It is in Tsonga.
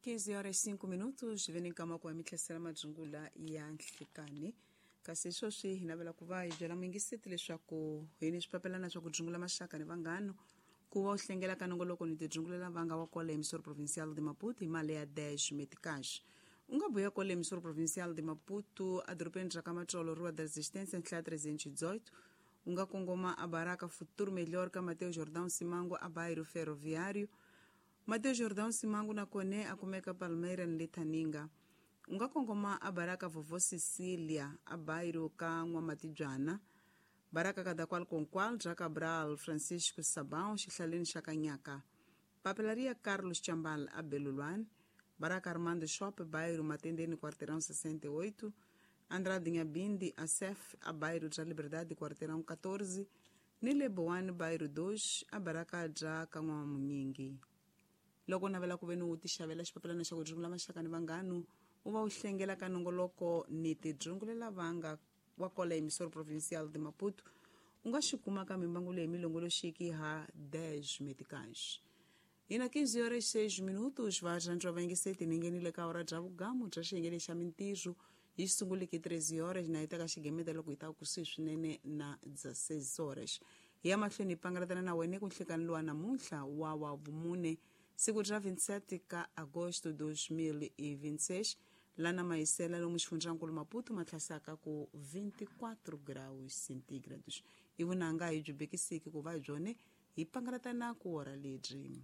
15 horas 5 minutos veni nkama ku mihlasela madzungula ya nhlikani. Kasi sweswi hi navela ku va hi byela muyingiseti leswaku hi ni swipapelana swa ku dzungula maxaka ni vanghano ku va u hlengela ka nongoloko ni tidzungulela vanga wa kwale Emissora Provincial de Maputo hi mali ya 10 meticais. U nga buya kwale Emissora Provincial de Maputo edorobeni ra ka Matsolo, Rua da Resistência, ntlha 318. U nga kongoma a Baraka Futuro Melhor ka Mateo Jordão Simango a Bairro Ferroviário. Mateo Jordão Simango na kone a kumeka Palmeira ni le Thaninga. U nga kongoma a Baraka Vovó Cecília a bairro ka N'wamatibyana. Baraka Kadakwal Konkwal bya Cabral Francisco Sabão xihlaleni xa Kanyaka. Papelaria Carlos Chambal a Belulwani. Baraka Armando Shop bairro Matendeni quarteirão 68. Andrade Nhabindi a Sef a bairro bya Liberdade quarteirão 14. Ni le Boane bairro 2 a Baraka bya ka N'wamunyingi. Loko u navela ku ve ni u tixavela xipapelana xa ku dzungula maxaka ni vanghano u va u hlengela ka nongoloko ni tidzungulela vanga wa kwala Emissora Provincial de Maputo, u nga xi kuma ka mimbangu leyi milongoloxiki ha 10 meticais. Hi na 15 horas 6 minutos va rhandza va yingiseti ni nghenile ka hora bya vugamu bya xiyenge xa mintirho yi sunguliki 13 horas na yi ta ka xigemeta loko yi ta kusuhi swinene na 16 horas. Hi ya mahlweni hi pangalatana na wena ku nhlekani lowa namuntlha wa vumune siku ra 27 ka agosto 2026, lana mahisela lomu xifundzankulu Maputo ma tlhasaka ku 24 graus centígrados. I vunanga hi byi bekisiki ku va hi byone hi pangalatana ku hora lebyi.